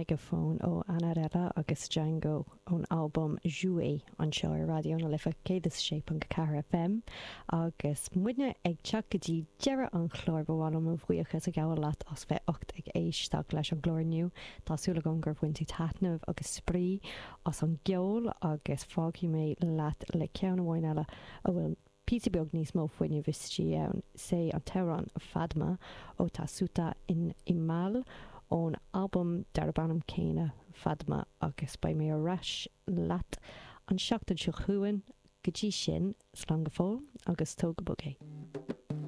Megaphone ó Annarella agus Django ón albam Jouer anseo ar Raidió na Life 106.4 FM agus muidne ag teacht go dtí deireadh an chláir ba mhaith liom mo bhuíochas a ghabháil leat as bheith ucht ag éisteacht leis an gclár inniu. Tá súil agam gur bhain tú taitneamh agus spraoi as an gceol agus fágfaidh mé leat le ceann amháin eile a bhfuil píosa beag níos mó fuinnimh istigh ann, 'sé an t-amhrán Fadma ó Tasuta in Imal ón albam darb ainm céanna Fadma agus beidh mé ar ais leat an seachtain seo chugainn, go dtí sin, slán go fóill agus tóg go bog é.